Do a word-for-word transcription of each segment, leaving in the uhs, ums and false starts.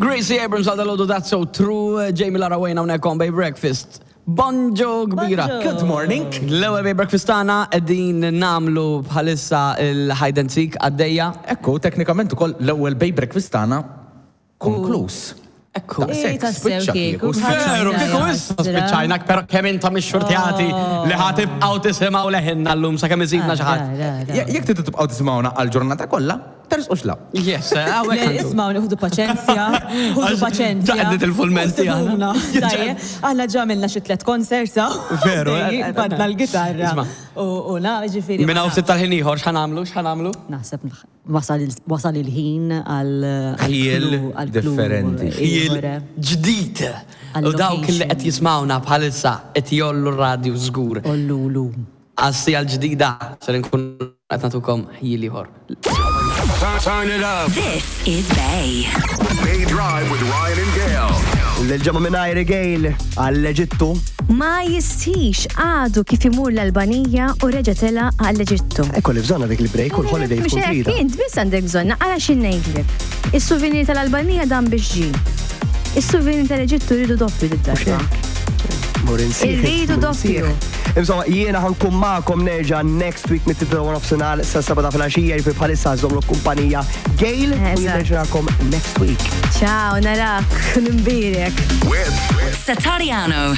Gracie Abrams għal dalgħodu That's So True, Jamie Lara Wayne hawnhekk on Bay Breakfast. Bonġu kbira. Good morning. L-ewwel Bay Breakfast tagħna qegħdin nagħmlu bħalissa il-hide and seek għaddejja. Ekku, teknikament ukoll l-ewwel Bay Breakfast tagħna konkluż. Ekku. Daqshekk, Ej, tassew spiċċa kieku. kieku. Veru, kieku issa spiċċajna, pero kemm intom ixxurtjati li ħa tibqgħu tisimgħu leħinna llum sakemm iżidna xi ħadd. Je- Jekk tridu tibqgħu tisimgħuna għal-ġurnata kollha, tersqux la. Yes, hawnhekk Le, għandu. ismaw, ħudu paċenzja, ħudu Għax paċenzja. ġa qed nitilfu l-menti aħna. Usibuna, tajjeb. Aħna ġa għamilna xi tliet concerts, Veru, eh, eh, Badna l-gitarra. Isma'. U u na, ġifieri. Minn hawn ftit tal-ħin ieħor x'ħa nagħmlu, x'ħa nagħmlu? Naħseb wasal il- wasal il-ħin għal Ħjiel għal differenti. Ħjiel ġdid. U dawk li qed jismawna bħalissa qed jgħollu r-radju żgur. Ollulu. Għas-siegħa l-ġdida ser nkun qed nagħtukom ħjiel ieħor. Turn it up. This is Bay. Bay Drive with Ryan and Gail. L-ġemma minn Gail għall-Eġittu. Ma jistix għadu kif imur l-Albanija u reġa tela għall-Eġittu. Ekku li bżonna dik il-break u l-holiday Mhux tkun hekk, trida. int biss għandek bżonna, għala xi ngħidlek. Is-souvenir tal-Albanija dan biex ġi. Is-souvenir tal-Eġittu rridu doppju d-darba. Mur insieħ. Irridu mur doppju. insieħ. Insomma, jiena ħa nkun magħkom nerġa' next week mit-tlieta u nofsinhar sa seba' ta' filgħaxija jiġifieri bħalissa żomlu kumpanija Gail u Eżatt. jien nerġa' next week. Ciao, narak, nimbirek. With Satariano,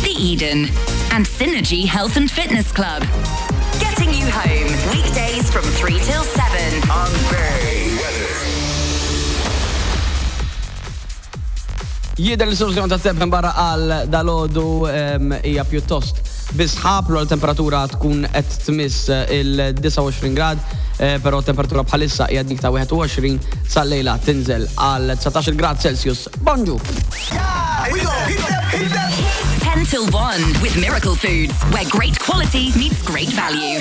The Eden, and Synergy Health and Fitness Club. Getting you home weekdays from three till seven. on Bay Weather. Jidher li soluzzjoni ta' temp barra għal dalgħodu hija pjuttost bisħab l temperatura tkun qed tmiss il-disgħa u għoxrin grad, eh, però temperatura bħalissa hija dik ta' wieħed u għoxrin sal-lejla tinżel għal dsatax grad Celsius. Bonġu! ten till one with Miracle Foods, where great quality meets great value.